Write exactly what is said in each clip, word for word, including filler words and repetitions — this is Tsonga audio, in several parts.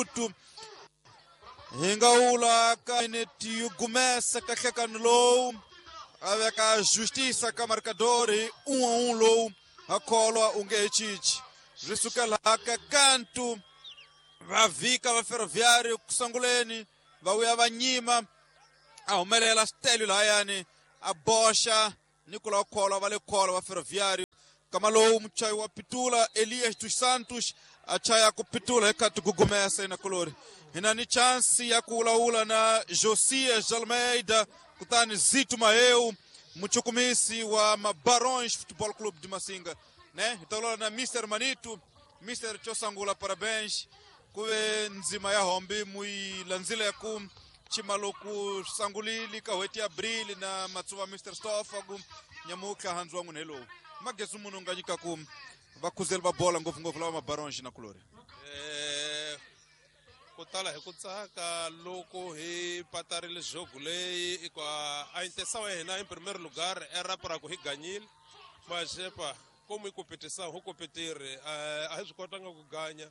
minutu hi nga wula ka minute yi gumesa ka nhlekano lowu a veka justiça ka marcador hi um a um lowu ha kholwa u nge he cinci ri sukela ka kantu va vhika va Ferroviário ku sunguleni va vuya va nyima a humelela Stelio lahayani a boxa Nicolau Kholwa va le Kholwa va Ferroviário kama lowu muchayi wa pitula Elias dos Santos a chaya ku pitula hi kha tigugumesa ina kolori hi na ni chance ya ku vulavula na Josias Almeida kutani Zito Maheu muchukumisi wa Mabarões Futebol Clube de Massinga, né? Hi ta vulavula na Mister Manito. Mister Chosangula, parabéns ku ve ndzima ya hombi muyi landzile ku chimaloku sangulili ka hweti ya abril na matsuva Mister Stoffa ku nyamutlha handzu wa n'wina hi lowu magezi munhu nga nyika ku vakhuzeli va bola ngopfungopfu lava Mabarões na kulori. Eh, ku tala hi ku tsaka loko hi patarile jogo leyi hikuva a intenção ya hina em primeiro lugar era para ku hi ganyile mas epa como hi competição ho competire a hi swi kotanga ku ganya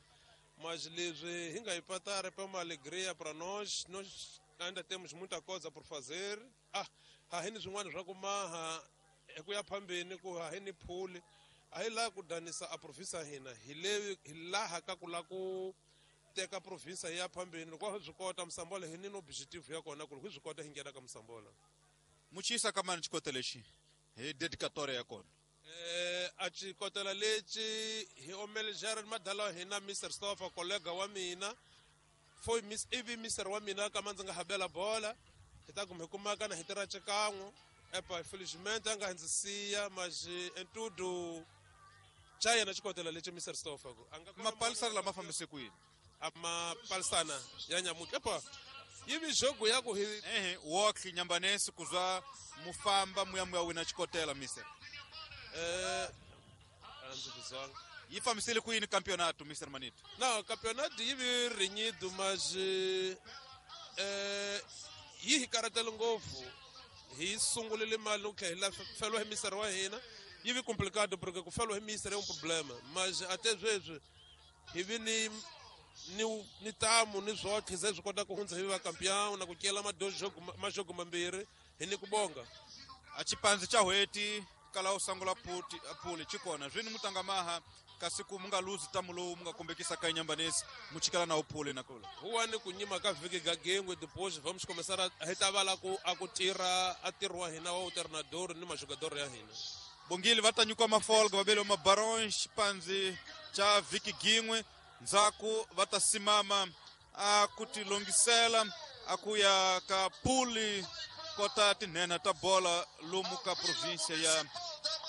mas leswi hi nga yi patari pa uma alegria para nós nós ainda temos muita coisa por fazer. Ah, ha hi ni swin'wana swa ku maha hi ku ya phambeni ku ha hi ni phuli a hi laha ku danisa a province ya hina hi le hi laha ka ku la ku teka province ya phambeni loko hi swi kota Msambola hi ni no objective ya kona ku loko hi swi kota hi nghena ka Msambola. Muchisa ka mani xikotela lexi hi dedicatoria ya kona? Eh, a xikotela lexi hi omelejare madala wa hina Mister Stoffa kollega wa mina foi miss ivi mister wa mina kama ndzi nga habela bola hi ta kuma hi kumaka na hi tirha xikan'we epa felizmente a nga ndzi siya mas em tudo xa yena xikotela lexi Mister Stoffa ku a nga mapalisana lama fambise ku yini? A mapalisana ya nyamutlha epa yi vi jogo ya ku hi ehe wokhi nyambanesi ku zwa mufamba muya muya wina xikotela mister. Eh, a ndzi vizanga. Yi fambisile ku yini campeonato Mister Manito? Não, campeonato yi vi renhido mas eh yi hi karatele ngopfu hi sungulile mali loko hi la feriwa hi mister wa hina yi vi complicado porque ku feriwa hi mister i um problema mas até sweswi hi vi ni ni ni tamu ni swotlhe se swi kota ku hundza hi va campeão na ku cela madojogo majogo mambirhi hi ni ku bonga. A xipandzi xa hweti kala u sangula puti phuli xikona swini mutanga maha kasi ku mu nga luzi tamu lowu mu nga kombekisa ka nyambanesi mu chikela na uphuli na kula huwani ku nyima ka vhiki gagengwe depois vamos começar a hi ta vala ku a ku tirha a ntirho wa hina wa treinador ni majogador ya hina. Bongile va ta nyikiwa mafolga va veliwa Mabarões xipandzi xa vhiki gin'we ndzhaku va ta simama a ku tilongisela a ku ya ka puli kota tinhenha ta bola lomu ka provinsia ya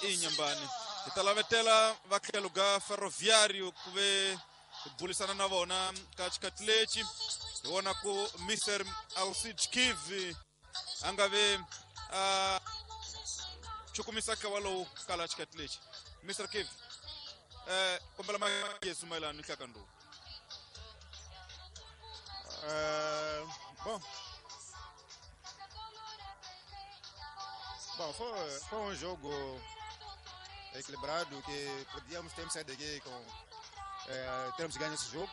Inhambane. Hi ta lavetela va tlhelo ga Ferroviário ku ve hi bulisana na vona ka xikhathi lexi hi vona ku Mister Alcide Kivi a nga ve a chukumisa ka walowu kala xikhathi lexi. Mister Kivi, eh kombela magezi mayelana ni nhlakano lowu. Eh, bom. Bom, foi, foi um jogo equilibrado que podíamos ter saído daqui com eh, termos ganho esse jogo,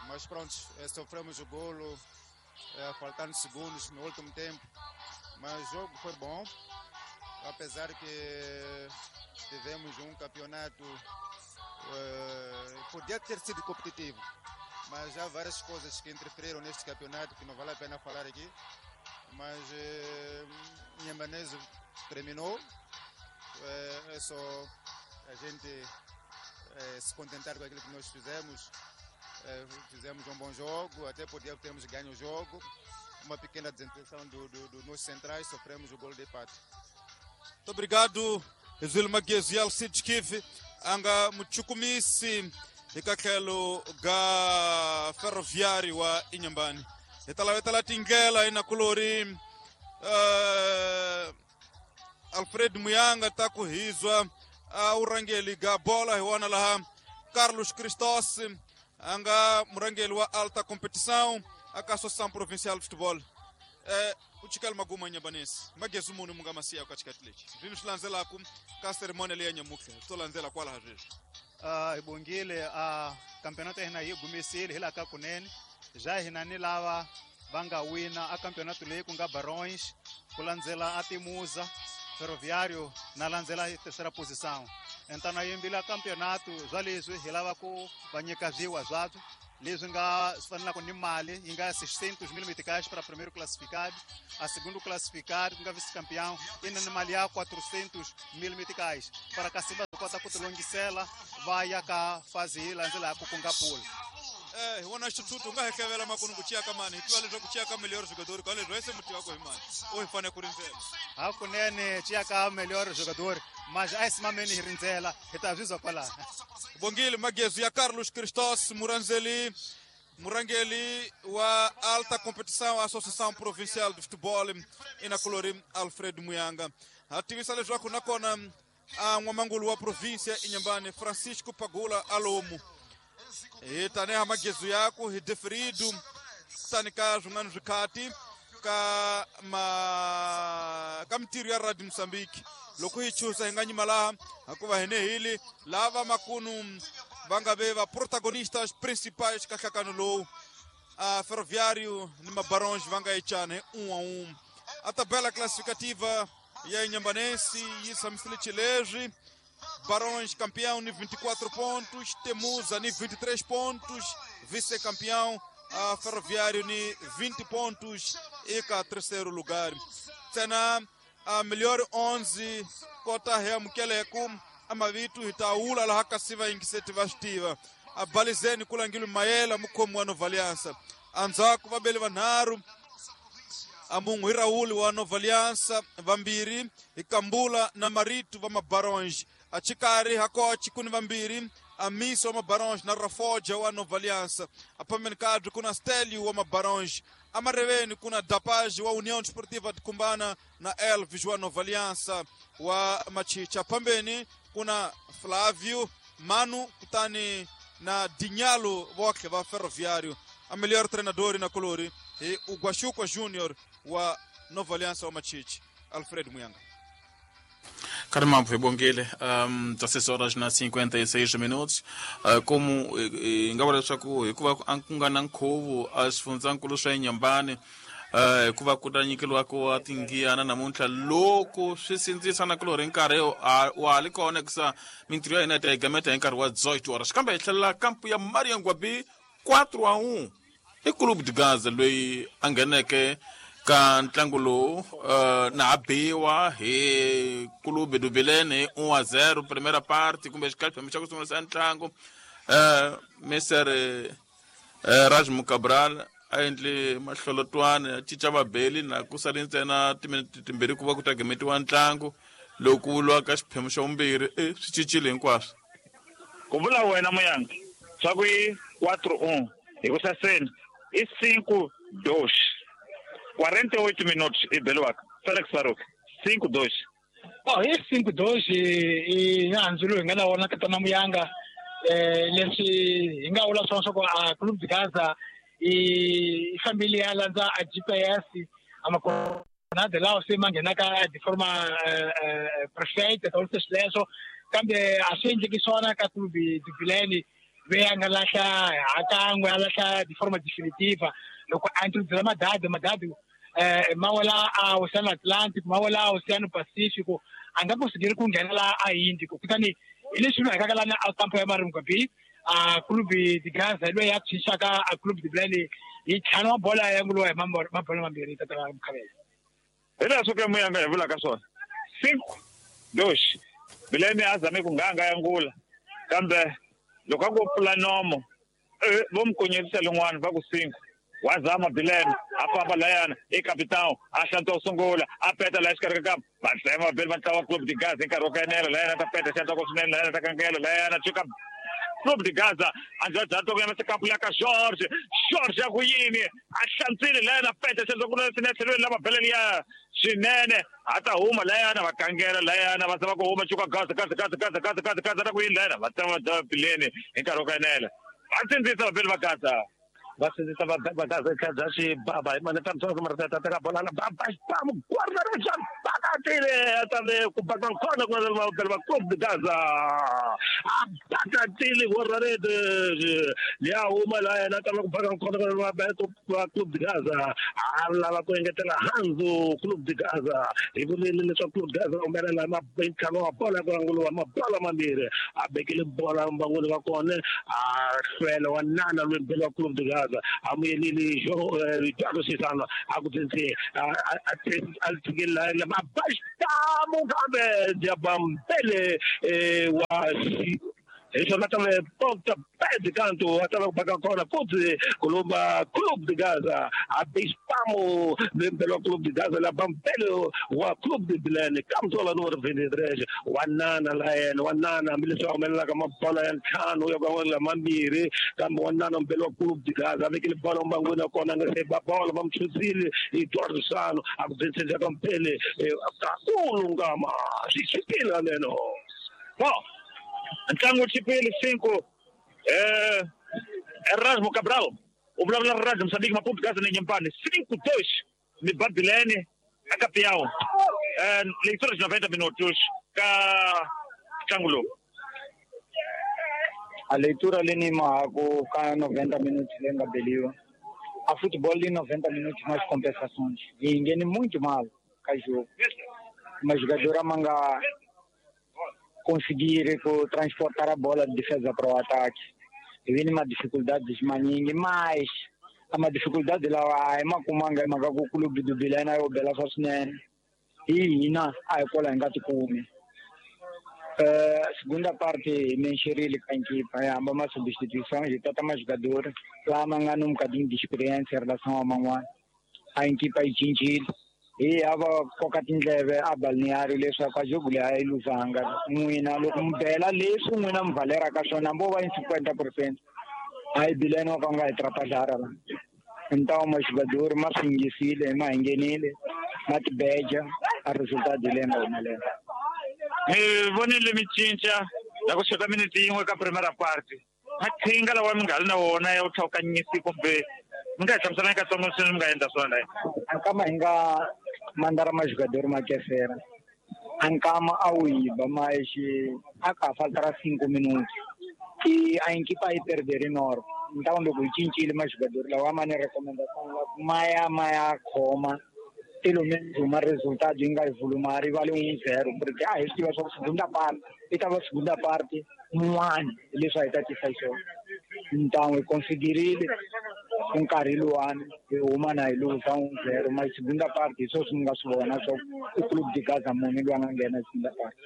mas pronto, eh, sofremos o golo eh, faltando segundos no último tempo, mas o jogo foi bom, apesar que tivemos um campeonato eh, podia ter sido competitivo, mas há várias coisas que interferiram neste campeonato que não vale a pena falar aqui. Mas eh, Inhambane terminou, é, é só a gente eh, se contentar com aquilo que nós fizemos. Eh, fizemos um bom jogo, até podíamos termos ganho o jogo. Uma pequena desintenção do, do, dos nossos centrais, sofremos o gol de empate. Muito obrigado, Ezil Magezi Alcide Kivi, anga muchukumisi eka tlhelo ga Ferroviário wa Inhambane. Hi ta lavetela tindlela inakulori uh, Alfred Muyanga ta ku hizwa a urangeli ga bola hi wona laha Carlos Cristos a nga murangeli wa alta competição aka Associação Provincial de Futebol. Eh, u chikela maguma Inhambane magezi munhu mu nga masiya ka xikhathi lexi swini swi landzelaku ka cerimônia leyi ya nyamutlha swi to landzela kwalaha sweswi. Uh, hi bongile a campeonato ya hina yi gumisile hi laha ka kunene bya hina ni lava va nga wina a campeonato leyi ku nga Barões ku landzela a Timuza Ferroviário na landzela hi terceira posição. Então na yimbile campeonato bya leswi hi lava ku va nyika zwiwa zwabyo leswi nga swi fanelaka ni mali yi nga seiscentos mil meticais para primeiro classificado, a segundo classificado ku nga vice-campeão ina ni mali ya quatrocentos mil meticais para kasi va kota ku tilongisela va ya ka fase yi landzelaka ku nga pool. Eh, hi wona xithuthuthu u nga hi hlevela makunu ku ciya ka mani hi tiva leswaku ciya ka melhor jogador ka leswi se muti wako hi mani u hi fanele ku rindzela hakunene ciya ka melhor jogador mas a hi simameni hi rindzela hi ta byi zwa kwalaho. Bongile Magezu ya Carlos Cristos Muranzeli murangeli wa alta competição Associação Provincial de Futebol ina colori Alfred Muyanga ha tivisa leswaku nakona a n'wamangulu wa província Inhambane Francisco Pagula Alomo hi taniha magezu yaku hi deferido kutani ka swin'wana swikhati ka ma ka mintirho ya Radio Mozambique loko hi chusa hi nga nyima laha hikuva hi ne hili lava makunu va nga ve va protagonistas principais ka nhlakano lowu a Ferroviário ni Mabarões va nga echana hi um a um. A tabela classificativa ya Inhambanense yi tshamisile xileswi Barões campeão ni vinte e quatro pontos, Temuza ni vinte e três pontos, vice-campeão a Ferroviário ni vinte pontos e ka terceiro lugar. Tsena a melhor onze kota ya mukeleku amavitu hitaula laha kasiva ingiseti vastiva a balizeni kulangilo mayela mukhomi wa Nova Aliança andzhaku vabeli vanharhu amungu hi Raul wa Nova Aliança vambirhi hi Kambula na Marito va Mabarões achikari hakochi kuni vambirhi Amiso wa Mabarões na Rafoja wa Nova Aliança apambeni kadri kuna Stelio wa Mabarões amareveni kuna Dapage wa União Desportiva de Cumbana na Elvis wa Nova Aliança wa Machicha pambeni kuna Flávio Manu kutani na Dinhalo voke va Ferroviário a melhor treinador na colori e o Guachuca Júnior wa Nova Aliança wa Machiche Alfred Muyanga. Caramba, foi bongele, um, dezesseis horas na cinquenta e seis minutos. Uh, como ngavula leswaku hikuva ku nga na nkhuvo a xifundzankulu swa Inhambane uh, hikuva ku ta nyikeliwa ku tingiyana namuntlha loko swi sindzisa na kulori nkarhi wa ha li kona hikusa mintirho ya hina yi ta yi gameta hi nkarhi wa dezoito horas kambe hi tlhelela kampu ya Marianguabi quatro a um i Clube de Gaza loyi a ngheneke ka ntlangu lowu uh, na ha biwa hi Clube do Belém hi um a zero primeira parte kumbe xiphemu xa ku sungula xa ntlangu uh, Mister uh, Rajmu Cabral a endle mahlolotwana ya cinca vabeli na ku sale ntsena timinete timbirhi ku va ku ta gemetiwa ntlangu loko ku vuriwa ka xiphemu xa vumbirhi e swi cincile hinkwaswo ku vula wena Muyanga swa ku i quatro um hi ku saseni i cinco dois quarenta e oito minutos e beliwaka Felix Faruk cinco dois. Oh, i cinco dois i nandzu lowu hi nga na wona ka tana Muyanga eh leswi hi nga vula swona swa ku a Clube de Gaza i fambile ya landza a G P S a makonade lawa se ma nghenaka de forma perfeita ta vula sweswo kambe a swi endleki swona ka Clube de Belém ve a nga lahla hakan'we a lahla de forma definitiva loko a introduce madadi madadi eh ma wela a Oceano Atlântico ma wela a Oceano Pacífico a nga conseguir ku nghena la a Índico kutani hi leswi mhaka lana a kampo ya Marimgwabi a Clube de Gaza loyi ya tshixaka a Clube de Belém hi ntlhanu wa bola ya ngulowa hi mabolo mambirhi tata Mukhavela hi leswo ke Muyanga hi vulaka swona cinco dois Belém a zame ku nganga ya ngula kambe loko a ku pfula nomo vo mi konyerisa lin'wana va ku cinco wazama Belém a famba layana i capitão a hlantswa ku sungula a peta laha xikarhi ka kampa va tsema vabeli va ntlawa Clube de Gaza hi nkarhi wo kanela layana ta peta xandla ku swinene layana ta kankela layana tshuka Clube de Gaza andzadzato ku yena sikampu ya ka George George ya ku yini a hlantswile layana peta xandla ku swinene tlhelweni lava beleni ya swinene a ta huma layana va kangela layana va zama ku huma tshuka Gaza Gaza Gaza Gaza Gaza Gaza Gaza ta ku yini layana va tsema va Belém hi nkarhi wo kanela va sindzisa vabeli va Gaza va sindzisa va va Gaza kha bya xibaba hi mane ta mtsongo mara ta teka bola la baba xipamu guarda ri bya baka Batatile também com o Bacana com o Clube de Gaza. A Batatile guarda-redes. Ya uma lá na tava com o Bacana com o Clube de Gaza. A lá com engetela Hanzo Clube de Gaza. E vou só Clube de Gaza o mera lá bem calou a bola com angulo uma bola mambire. A bekele bola mbangulo wa kone a fela wa nana lwembele Clube de Gaza. A mulher João Ricardo Cisano a kutense a a la basta mugabe diabambele wa isso lá também ponta pé de canto até lá para agora pode Colomba Clube de Gaza a Bispamo pelo Clube de Gaza lá Bampelo o Clube de Bilene Camsola número vinte e três o Anana lá é o Anana militão mela como bola em cano eu com la mambire como Anana pelo Clube de Gaza aquele bola manguna com a receba bola vamos chuzile e torno sano a vencer já Bampele kakulungama sisipila neno bom. Ntlangu chipili cinco eh Erasmo Cabral o blá blá Rádio Moçambique Maputo Gaza Inhambane cinco dois me Babilene a campeão eh leitura de noventa minutos ka ntlangu a leitura ali ni mago ka noventa minutos lenga beliwa a futebol de noventa minutos mais compensações e ninguém muito mal ka jogo mas jogadora manga conseguir transportar a bola de defesa para o ataque. E vem uma dificuldade de maningue, mas uma dificuldade lá é uma comanga, é uma o clube do Bilena é o Bela Sosnen. E ina a escola engati come. Segunda parte mexer com a equipa, é uma substituição, e tá mais jogador, lá manga num bocadinho de experiência em relação ao Manguá. A equipa é gentil. E ava kokatinleve a balneário leswaku a jogo leyi a yi luzanga n'wina loko mi bela leswi n'wina mi valeraka swona mo va yi cinquenta por cento a yi bilene wa ka nga hi trapajara la ntawo majogador ma swi yingisile ma hi nghenile ma tibeja a resultado leyi nga humelela mi vonile mi cinca la ku xota minute yin'we ka primera parte maqhinga lawa mi nga ri na wona ya ku tlhawukanyisi kumbe mi nga hi hlamusela katsongo sweswi mi nga endla swona la ankama hi nga mandara majogador ma kefera ankama a wu yiba mas a ka faltara cinco minutos e a equipa yi perdere noro então loko hi cincile majogador lawa ma ni recomendação la ma ya ma ya khoma pelo menos uma resultado yi nga yi volumari vale um zero porque a hi swi tiva swa ku segunda parte yi ta va segunda parte mun'wana leswi a hi ta tisa xiswona então hi conseguirile nkarhi luwani hi huma na hi luza un zero mas segunda parte hi swona swi nga swi vona swa i Clube de Gaza munhu loyi a nga nghena segunda parte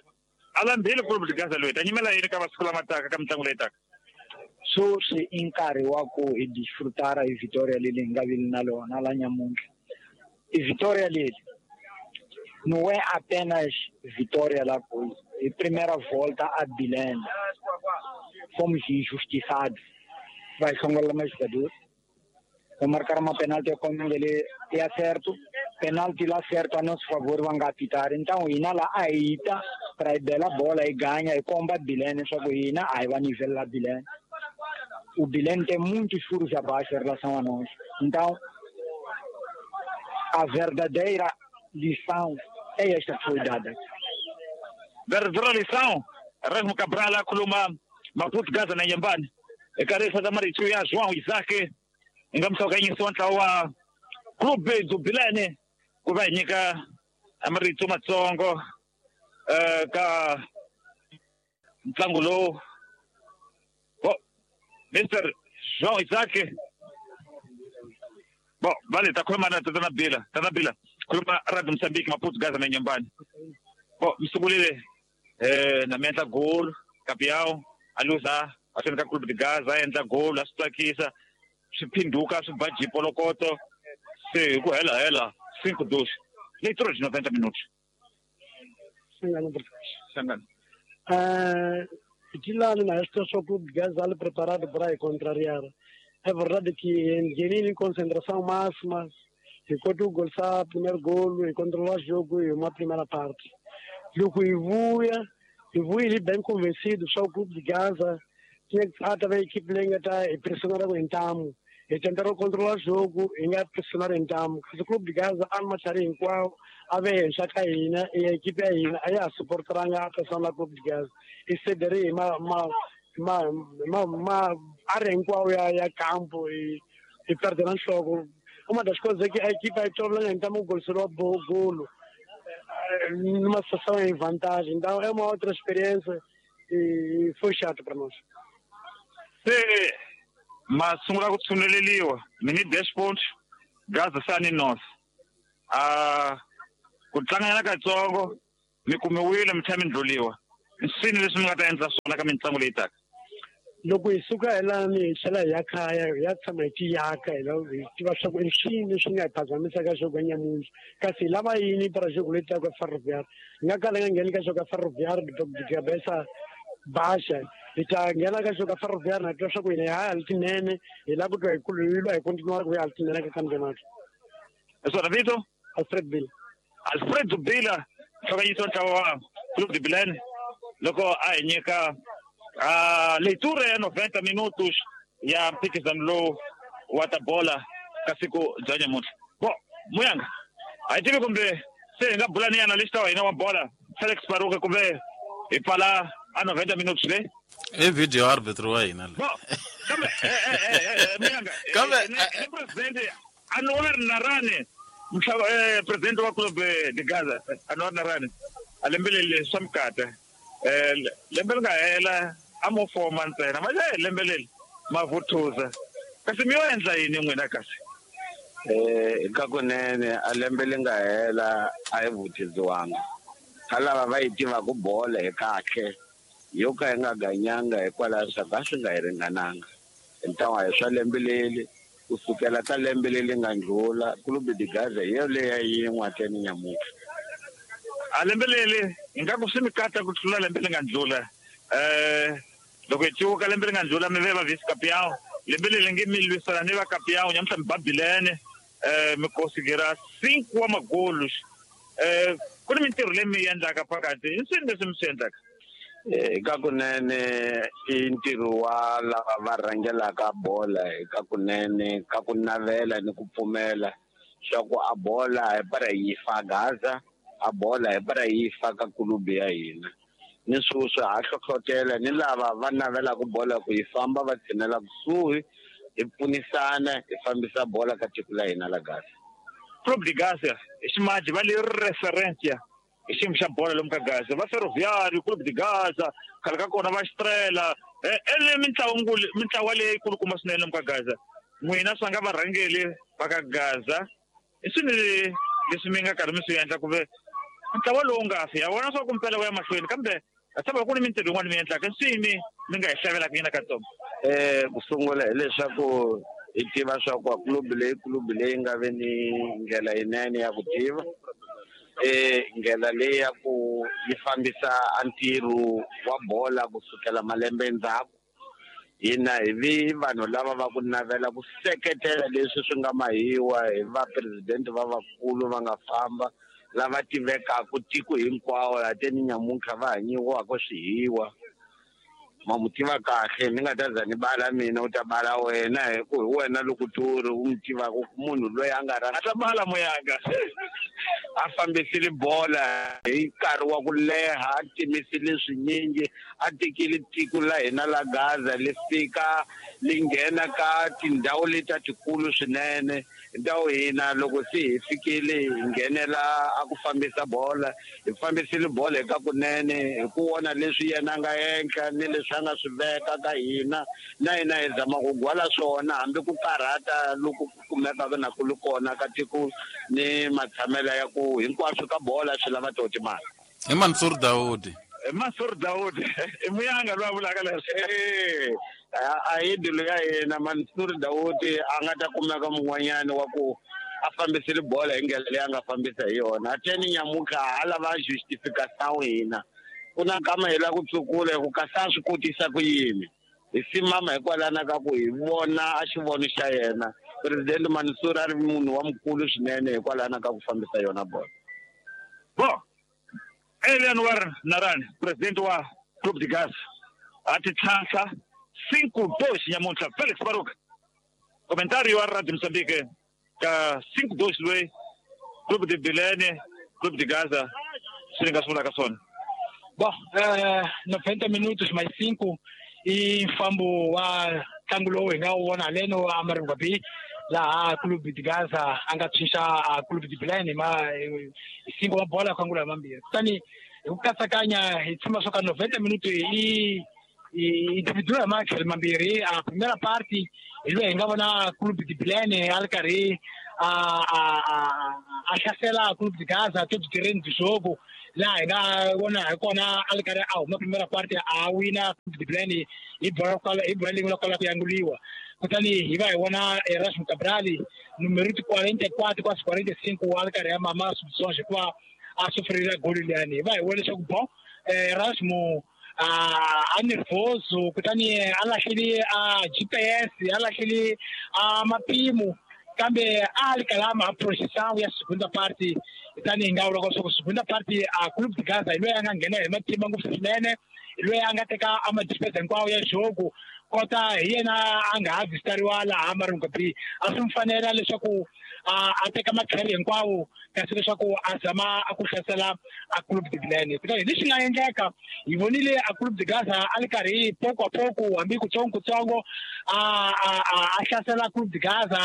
alambile Clube de Gaza loyi ta nyimela yini ka masiku lama taka ka mitlangu leyi taka sweswi i nkarhi wa ku hi disfrutara hi Vitória leli hi nga vili na lona la nyamuntlha i Vitória leli não é apenas vitória lá coisa e primeira volta a Bilene fomos injustiçados vai songola mais jogador vou marcar uma penalti como ele é certo penalti lá certo a nosso favor vão apitar então ina lá aita para bela bola e ganha e comba Bilene só que ina aí vai nivelar Bilene o Bilene tem muitos furos abaixo em relação a nós então a verdadeira lição é esta que foi dada. Verdadeira lição, Erasmo Cabral akhuluma Maputo Gaza na Inhambane. Ekarisa da Maritu ya João Isaac ngamsawukanyisi wa ntlawa wa Clube do Bilene ku va hi nyika marito matsongo ka ntlangu lowu. Mister João Isaac Bom, vale, tá khuluma na Tata Bila, Tata Bila. Khuluma Radio Moçambique, Maputo Gaza na Inhambane. Bom, mi sungulile eh na mi endla goal, campeão, a luza, a swi ka Clube de Gaza, a endla goal, a swi tsakisa, swi phinduka, swi ba jipolokoto, se hi ku hela hela cinco dois. Leitura de noventa minutos. Sangana. Sangana. Eh, de lá na esta só Clube de Gaza preparado para contrariar. É verdade que em concentração máxima, enquanto o gol sa primeiro gol, e controlar o jogo e uma primeira parte. Jogo evolui, evolui ele bem convencido, só o Clube de Gaza tinha que estar também a equipe lenga tá pressionada com entamo. Hi tentara ku controlar jogo, hi nga pressionar ntamu. Kasi Clube de Gaza a matlhari hinkwawo a ve henhla ka hina, ya ekipe ya hina a ya ha supporteranga a pressiona la Clube de Gaza. Hi cedere hi ma ma ma ma ma área hinkwawo ya ya campo hi hi perdera nhloko. Uma das coisas é que a equipe aí toda ntamu goliseriwa golo numa situação em vantagem. Então é uma outra experiência e foi chato para nós. Se ma sungula ku tshuneleliwa mi ni dez pontos Gaza sa ni nose a ku tlanganyana katsongo mi kumiwile mi tlhela mi ndlhuliwa nsini leswi mi nga ta endla swona ka mitlangu leyi taka. Loko hi suka hi lani hi tlhela hi ya kaya hi ya tshama hi tiyaka hi hi tiva swa ku i swini leswi nga hi phazamisaka jogo ya nyamuntlha kasi hi lava yini para jogo leyi taka Ferroviário. Hi nga kala hi nga ngheni ka jogo ya Ferroviário de cabeça baixa hi ta nghena ka jogo ya Ferroviário na twa swa ku hina hi ya tinene hi lava ku twa hi lwa hi continuar ku ya tinene ka campeonato. Swona vito? Alfred Bila. Alfred Bila hlokanyiso ntlawa wa Clube de Bilene loko a hi nyika a leitura ya noventa minutos ya mphikizano lowu wa ta bola ka siku bya nyamuntlha. Bo Muyanga a hi tivi kumbe se hi nga bula ni analyst wa hina wa bola Felix Baruka kumbe hi pfala a noventa minutos leyi i video arbitro wa hina le. Kambe Muyanga kambe ni president Anwar Narani mhlaba president wa Clube de Gaza Anwar Narani a lembe leri swa mikata eh lembe ri nga hela a mo foma ntsena manje lembe leri mavuthuza kasi mi yo endla yini n'wina kasi? Eh ka kunene a lembe leri nga hela a hi vuthiziwanga ka lava va yi tivaka bola hi kahle yo ka yi nga ganyanga hikwalaho swa ka swi nga hi ringananga ntlawa hi swa lembe leri kusukela ka lembe leri nga ndlula Clube de Gaza hi yo leya yin'we ateni nyamuntlha. A lembe leri ingaku swi mi kata ku tlula lembe leri nga ndlula eh loko hi ciwuka lembe leri nga ndlula mi ve va vice campeão lembe leri nge mi lwisana ni va campeão nyamuntlha mi babilene eh mi considerar cinco wa magolos eh ku ni mintirho leyi mi yi endlaka phakathi i swini leswi mi swi endlaka? Eka kunene i ntirho wa lava va rhangelaka bola eka kunene ka ku navela ni ku pfumela swa ku a bola hi para yi fa Gaza a bola hi para yi fa ka kulubu ya hina ni sweswi ha hlohlotela ni lava va navelaka bola ku yi famba va tshinela kusuhi hi pfunisana hi fambisa bola ka tiko la hina la Gaza. Clube de Gaza hi ximaji va le referência hi xiyimo xa bola lomu ka Gaza va Ferroviário Clube de Gaza khale ka kona va Estrela ele mintlawa mintlawa leyi kulukumba swinene lomu ka Gaza n'wina swa nga varhangeli va ka Gaza i swini leswi mi nga karhi mi swi endla kumbe ntlawa lowu nga fi ya vona swa ku mpela wu ya mahlweni kambe a tshemba ku ni mintirho yin'wana mi endlaka swini mi nga hi hlavelaka yina katsongo? Eh ku sungula hileswaku hi tiva swa ku club leyi club leyi nga ve ni ndlela yinene ya ku tiva eh ndlela leyi ya ku yi fambisa a ntirho wa bola kusukela malembe endzhaku hina hi vi vanhu lava va ku navela ku seketela leswi swi nga mahiwa hi va president va vakulu va nga famba lava tivekaka tiko hinkwawo laha teni nyamuntlha va hanyiwaka swihiwa ma mu tiva kahle ni nga ta za ni bala mina u ta bala wena hi ku hi wena loko turi u mu tivaka munhu loyi a nga a ta bala Muyanga a fambisile bola hi nkarhi wa ku leha a timisile swinyingi a tekile tiko la hina la Gaza li fika li nghena ka tindhawu leti ta tikulu swinene ndhawu hina loko se hi fikile hi nghenela a ku fambisa bola hi fambisile bola eka kunene hi ku vona leswi yena a nga endla ni leswi a nga swi veka ka hina na hina hi zama ku gwala swona hambi ku karhata loko ku kumekaka na ku li kona ka tiko ni matshamelo ya ku hinkwaswo ka bola swi lava to timali. Hi Mansour Daudi. Mansour Daudi i Muyanga loyi a vulaka leswi eh a hi dilo ya yena Mansour Daudi a nga ta kumeka mun'wanyana wa ku a fambisile bola hi ndlela leyi a nga fambisa hi yona a teni nyamuntlha ha lava justification hina ku na nkama hi lava ku tsukula hi ku kasi a swi kotisa ku yini hi simama hikwalana ka ku hi vona a xivono xa yena president Mansour a ri munhu wa mukulu swinene hikwalana ka ku fambisa yona bola. Bo Anwar Narani president wa Clube de Gaza a ti tlhantlha cinco dois nyamuntlha Felix Baruka Comentário wa Radio Moçambique ka cinco dois loyi Clube de Bilene, Clube de Gaza, swi nga swi vulaka swona. Bom, eh, noventa minutos mais cinco i mfambo wa ntlangu lowu hi nga wu vona haleno a Maringwabi laha Clube de Gaza a nga tshunxa a Clube de Bilene ma hi cinco wa bola ku angula mambirhi. Kutani hi ku katsakanya hi tshemba swa ka noventa minutos i i dividiwa hi matlhelo mambirhi. A primera parte hi loyi hi nga vona Clube de Bilene a ri karhi a a a a hlasela Clube de Gaza todo terreno de jogo laha hi nga vona hi kona a ri karhi a huma primera parte a wina Clube de Bilene hi bola kwala hi bola leyi nga kwala ku yanguliwa. Kutani hi va hi vona Erasmo Cabral numero quarenta e quatro quase quarenta e cinco a ri karhi a mama substituições hikuva a sofrerile goli liyani. Hi va hi vona leswaku bon Erasmo a a nervoso kutani a lahlele a G P S a lahlele a mapimo kambe a ri kalama a projeção ya segunda parte. Kutani hi nga vula leswaku segunda parte a Clube de Gaza hi loyi a nga nghena hi matimba ngopfu swinene, hi loyi a nga teka a madefense hinkwawo ya jogo kota hi yena a nga ha visitariwa laha Maringwabi. A swi n'wi fanela leswaku a a teka matlhelo hinkwawo kasi leswaku a zama a ku hlasela a Clube de Bilene. Kutani hi leswi nga endleka hi vonile a Clube de Gaza a ri karhi poco a poco hambi kutsongo kutsongo a a a hlasela Clube de Gaza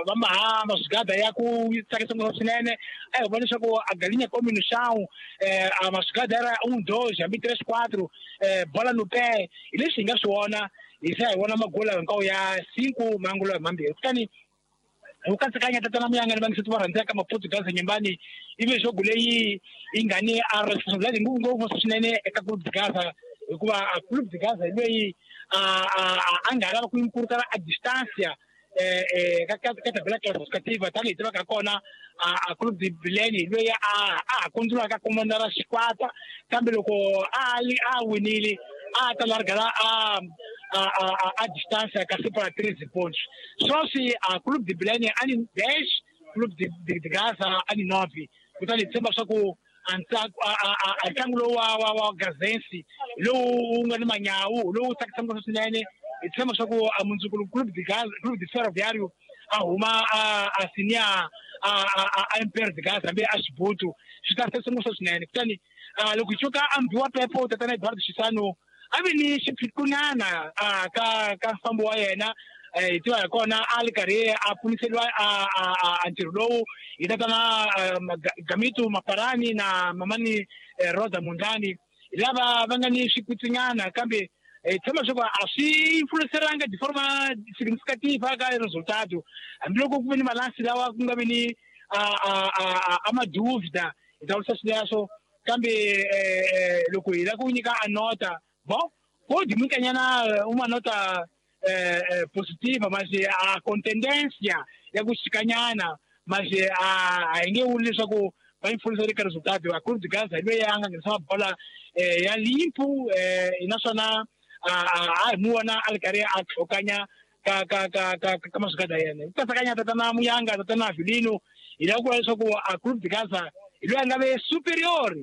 va mahamba swigada ya ku tsakisa ngopfu swinene. A hi vona leswaku a galinha come no chão eh, a maswigada era um dois hambi três quatro eh, bola no pé. Hi leswi hi nga swi vona hi se hi vona magula hinkwawo ya cinco mangulo mambirhi. Kutani hi ku katsakanya tatana Muyanga ni vangiseti va rhandzaka Maputo Gaza Nyembani ivi jogo leyi yi nga ni a responsabilidade ngopfu swinene eka Clube de Gaza hikuva a Clube de Gaza hi loyi a a a nga lava ku encurtar a distância eh eh ka ka ka tabela classificativa tanihi tivaka kona a Clube de Bilene hi loyi a a ha kundzulaka komandara xikwata kambe loko a a winile a ta largala a a a a distância ka separa treze pontos. Sweswi a Clube de Bilene a ni dez, Clube de, de, de Gaza a ni nove. Kutani hi tshemba swa ku a a ntlangu lowu wa wa wa Gazensi lowu wu nga ni manyawu lowu tsakisaka ngopfu swinene. Hi tshemba swa ku a mundzuku Clube de Gaza Clube de Ferroviário a huma a a sinia a a a Império de Gaza hambi a Xibutu swi ta tsakisa ngopfu swinene. Kutani loko hi tshuka a mbiwa Pepo tatana Eduardo Chissano a vi ni xiphiqonyana a ka ka mfambo wa yena. Hi tiva hi kona a ri karhi a pfuniseriwa a a a ntirho lowu hi tatana Gamito Maparani na mamani Rosa Mundani lava va nga ni swikutsinyana kambe hi tshemba leswaku a swi influenceranga de forma significativa ka resultado hambiloko ku ve ni malansi lawa ku nga vi ni a a a a madúvida hi ta vurisa swileswo kambe loko hi lava ku nyika a nota bom pode munkanyana uma nota eh, eh, positiva, mas a contendência ya ku xikanyana mas a a hi nge vuli leswaku va influencer eka resultado. A Clube de Gaza hi loyi a nga nghenisa mabola eh, ya limpo eh, naswona a a hi mu vona a ri karhi a tlhokanya ka ka ka ka ka maswigada ya yena. Ku katsakanya tatana Muyanga tatana Avelino hi lava ku vula leswaku a Clube de Gaza hi loyi a nga ve superior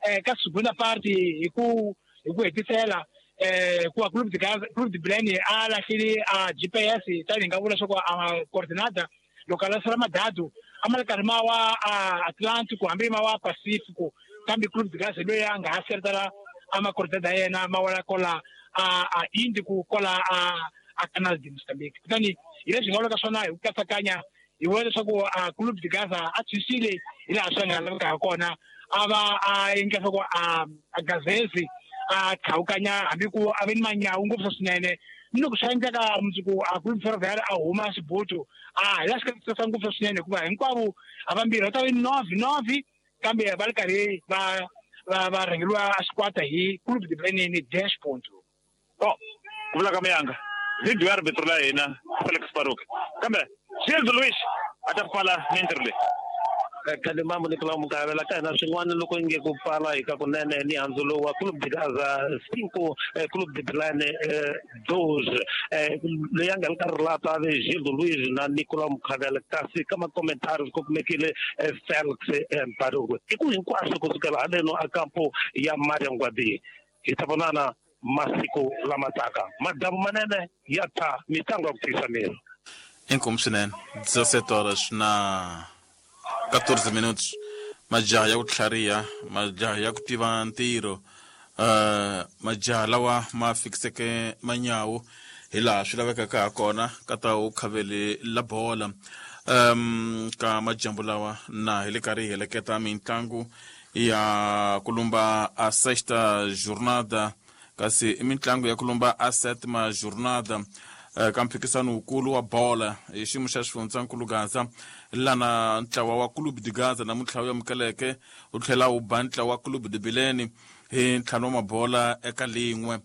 eh, ka segunda parte hi ku hi ku hetisela eh ku Clube de Gaza Clube de Bilene a lahlele a G P S tani hi nga vula leswaku a coordinata loko a lahlela madadu a ma ri karhi ma wa a Atlantico hambi ma wa Pacifico kambe Clube de Gaza loyi a nga ha seretela a ma coordinata ya yena ma wela kola a a Índico kola a a Canal de Moçambique. Kutani hi leswi hi nga vulaka swona hi ku katsakanya hi vona leswaku a Clube de Gaza a tshwisile hi laha swi nga laveka ha kona a va a endla leswaku a a Gazezi a tlhawukanya hambi ku a ve ni manyawu ngopfu swinene ni loko swi endleka mundzuku a Clube Ferroviário a huma xibutu a hi laha swi ka ngopfu swinene hikuva hinkwavo a vambirhi va ta ve nove nove kambe va ri karhi va va va rhangeriwa a xikwata hi Clube de Bilene ni dez ponto. Bom, ku vula ka Muyanga video ya arbitro la hina Felix Baruch kambe Gildo Luis a ta pfala mintirho leyi. Kalimambo Nicolau Mukavela ka hina swin'wana loko nge ku pfala hi ka kunene ni handzu lowu wa Clube de Gaza cinco Clube de Bilene dos leyi a nga ri ka rilata ve Gildo Luis na Nicolau Mukavela kasi ka makomentari ku kumekile Felix Baruch i ku hinkwaswo kusukela haleno a kampo ya Mariangwabi hi ta vonana masiku lama taka madamu manene ya ta mitlangu ya ku tiyisa miri. Inkomu swinene dezessete horas na quatorze minutos. Majaha ya ku tlhariha, majaha ya ku tiva ntirho, uh, majaha lawa ma fikiseke manyawu hi laha swi lavekaka ha kona ka ta u khavele la bola. Um, ka majambu lawa na hi le karhi hi heleketa mitlangu ya kulumba a sexta jornada, kasi i mitlangu ya kulumba a sétima jornada uh, ka mphikisano wukulu wa bola hi xiyimo xa xifundzankulu Gaza, lana ntlawa wa Clube de Gaza namuntlha wu amukeleke wu tlhela wu ba ntlawa wa Clube de Bilene hi ntlhanu wa mabola eka lin'we.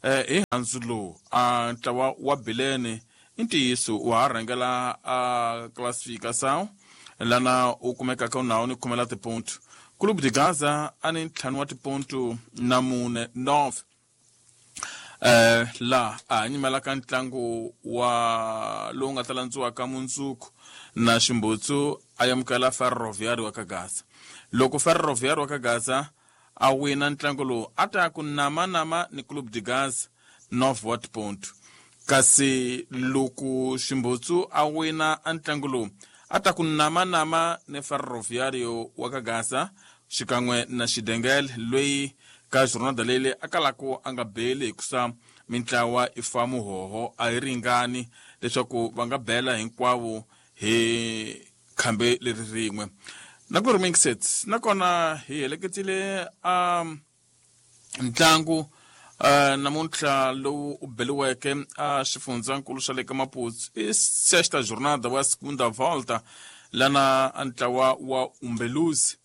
Eh, hi handzu lowu a ntlawa wa Bilene i ntiyiso wa ha rhangela a classificação lana u kumekaka u nawu ni khumela tiponto. Clube de Gaza a ni ntlhanu wa tiponto na mune nove. Eh, la a nyimelaka ntlangu wa lowu nga ta landziwaka mundzuku na Ximbutsu a amukela Ferroviário wa ka Gaza. Loko Ferroviário wa ka Gaza a wina ntlangu lowu a ta ku nama nama ni Clube de Gaza nove wa tiponto, kasi loko Ximbutsu a wina ntlangu lowu a ta ku nama nama ni Ferroviário wa ka Gaza xikan'we na Xidengele loyi ka jornada leyi a kalaka a nga beli hikusa mintlawa i fa muhoho a yi ringani leswaku va nga bela hinkwavo hi khambe leri rin'we. Na ku ri minxets nakona hi heleketile a ntlangu uh, namuntlha lowu u beliweke a xifundzankulu xa le ka Maputo i sexta jornada wa segunda volta, lana ntlawa wa Umbeluzi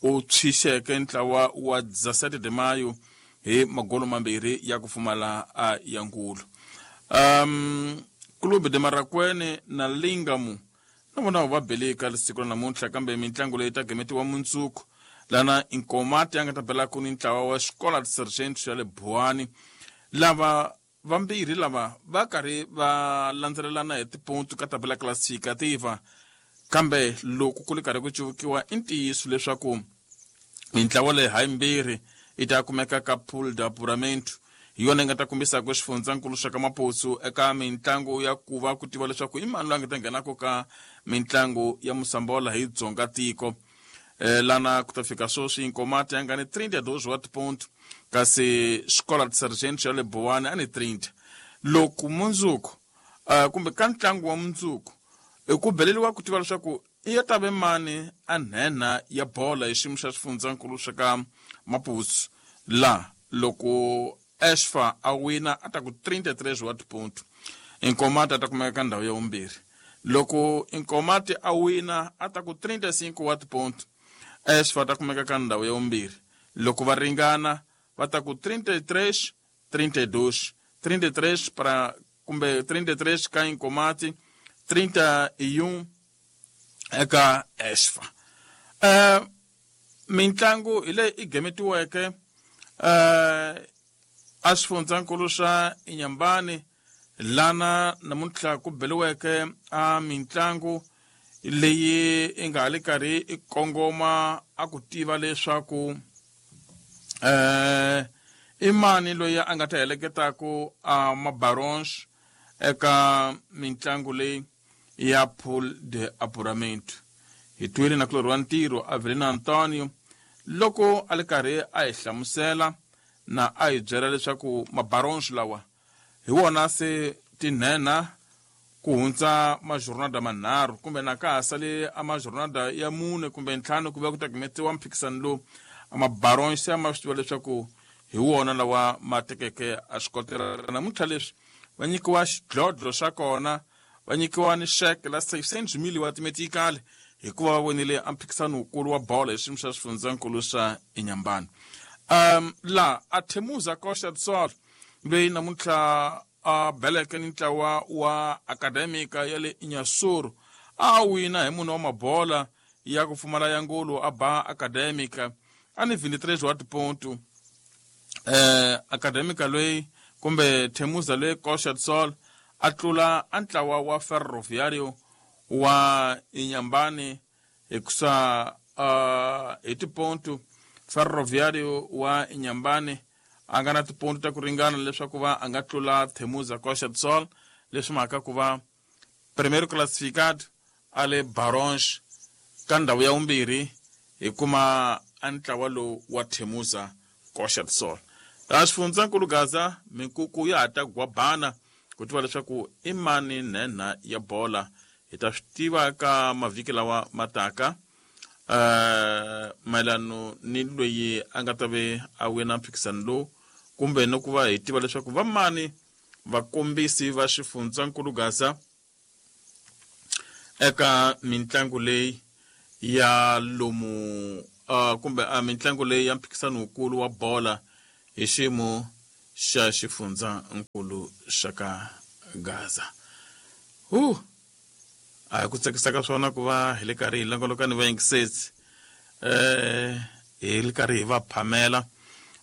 u tshixeke ntlawa wa dezessete de maio hi magolo mambirhi ya ku pfumala a ya nkulu. Um, Clube de Marakwene na Lingamu na vona va beleka siku ra namuntlha, kambe mitlangu leyi ta gemetiwa mundzuku lana Inkomati ya nga ta belaka ni ntlawa wa Escola de Sargento ya le Buani. Lava vambirhi lava va karhi va landzelelana hi tiponto ka tabela classificativa, kambe loko ku ri karhi ku cuvukiwa i ntiyiso leswaku mintlawa leyi hayimbirhi yi ta kumeka ka pool de apuramento hi yona yi nga ta kombisaka xifundzankulu xa ka Maputo eka mitlangu ya ku va ku tiva leswaku i mani loyi a nga ta nghenaka ka mitlangu ya Mosambola hi dzonga tiko. Eh, lana ku ta fika sweswi Inkomati ya nga ni trinta e dois wa tiponto, kasi Escola de Sargento ya le Buani a ni trinta. Loko mundzuku uh, kumbe ka ntlangu wa mundzuku i ku beleliwa ku tiva leswaku i ya ta ve mani a nhenha ya bola hi xiyimo xa xifundzankulu xa ka Maputo, la loko Esfa a wina a ta ku trinta e três wa tiponto, Inkomati a ta kumeka ka ndhawu ya vumbirhi. Loko Inkomati a wina a ta ku trinta e cinco wa tiponto, Esfa a ta kumeka ka ndhawu ya vumbirhi. Loko va ringana va ta ku trinta e três, trinta e dois, trinta e três para kumbe trinta e três ka Inkomati, trinta e um eka Esfa. Uh, mintlangu hi leyi i gemetiweke uh, a xifundzankulu xa Inyambani lana namuntlha ku beliweke a mintlangu leyi i nga ha le karhi i kongoma a ku tiva leswaku eh, i mani loyi a nga ta heleketaka a mabarons eka mitlangu leyi ya pool de apuramento. Hi twile na kulorhi wa ntirho Avelino Antonio loko a le karhi a hi hlamusela na a hi byela leswaku mabarons lawa hi wona se tinhenha ku hundza majornada manharhu kumbe na ka ha sale a majornada ya mune kumbe ntlhanu ku va ku ta gimetiwa mphikisano lowu, mabarons ya ma swi tiva leswaku hi wona lawa ma tekeke a swikotela. Namuntlha leswi va nyikiwa xidlodlo xa kona, va nyikiwa ni xeke la seiscentos mil wa timetikali hikuva va vonile a mphikisano wukulu wa bolo hi xiyimo xa xifundzankulu xa Inyambani. Um, la a Temuza Costa do Sol loyi namuntlha a beleke ni ntlawa wa Academica ya le Inhasuru a wina hi mune wa mabola ya ku pfumala ya ngolo a ba Academica a ni vinte e três wa tiponto. Eh, Academica loyi kumbe Temuza loyi Costa do Sol a tlula a ntlawa wa Ferroviário wa Inyambani hikusa uh, hi tiponto. Ferroviário wa Inyambani a nga na tiponto ta ku ringana leswaku va a nga tlula Temuza Costa do Sol, leswi mhaka ku va Primeiro classificado ale Barões ka ndhawu ya vumbirhi hi kuma a ntlawa lowu wa Temuza Coxa do Sol. A xifundzankulu Gaza minkuku ya ha ta gwabana ku tiva leswaku i mani nhenha ya bola. Hi ta swi tiva ka mavhiki lawa mataka uh, mayelano ni loyi a nga ta ve a wina mphikisano lowu, kumbe ni ku va hi tiva leswaku va mani vakombisi va xifundzankulu Gaza eka mintlangu leyi ya lomu uh, kumbe uh, mintlangu leyi ya mphikisano wukulu wa bola hi xiyimo xa xifundzankulu xa ka Gaza. Uh, a hi ku tsakisa ka swona ku va hi le karhi hi longoloka ni vayingisesi eh hi le karhi hi va phamela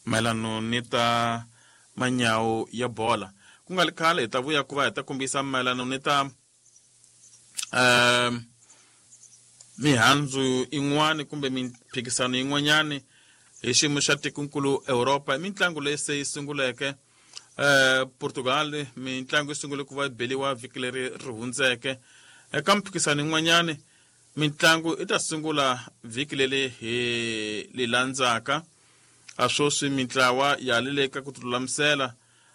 mayelano ni ta manyawu ya bola. Ku nga ri khale hi ta vuya ku va hi ta kombisa mayelano ni ta um mihandzu yin'wani kumbe mimphikisano yin'wanyani hi xiyimo xa tikonkulu Europa. Mintlangu leyi se yi sunguleke eh Portugal, mintlangu yi sungule ku va yi beliwa vhiki leri ri hundzeke. Eka mphikisano yin'wanyani mintlangu i ta sungula vhiki leri hi li landzaka. A sweswi mintlawa ya le ka ku tilulamisela.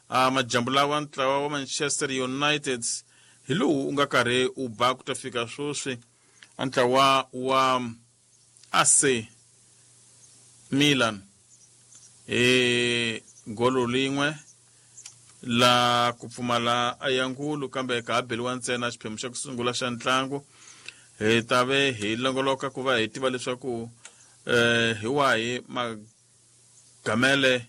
A majambu lawa ntlawa wa Manchester United hi lowu u nga karhi u ba ku ta fika sweswi a ntlawa wa A C Milan hi golo lin'we la ku pfumala ayangulu, kambe ka ha beliwa ntsena xiphemu xa ku sungula xa ntlangu. Hi ta ve hi longoloka ku va hi tiva leswaku eh hi wahi magamele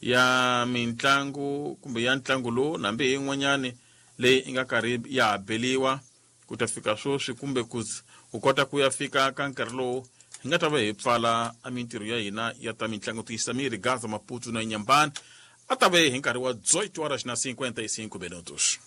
ya mintlangu kumbe ya ntlangu lowu nambi hi yin'wanyani leyi i nga karhi ya ha beliwa ku ta fika sweswi, kumbe ku u kota ku ya fika ka nkarhi lowu hi nga ta va hi pfala a mintirho ya hina ya ta mintlangu tiyisa miri Gaza, Maputo na Inhambane. A ta ve hi nkarhi wa dezoito horas na cinquenta e cinco minutos.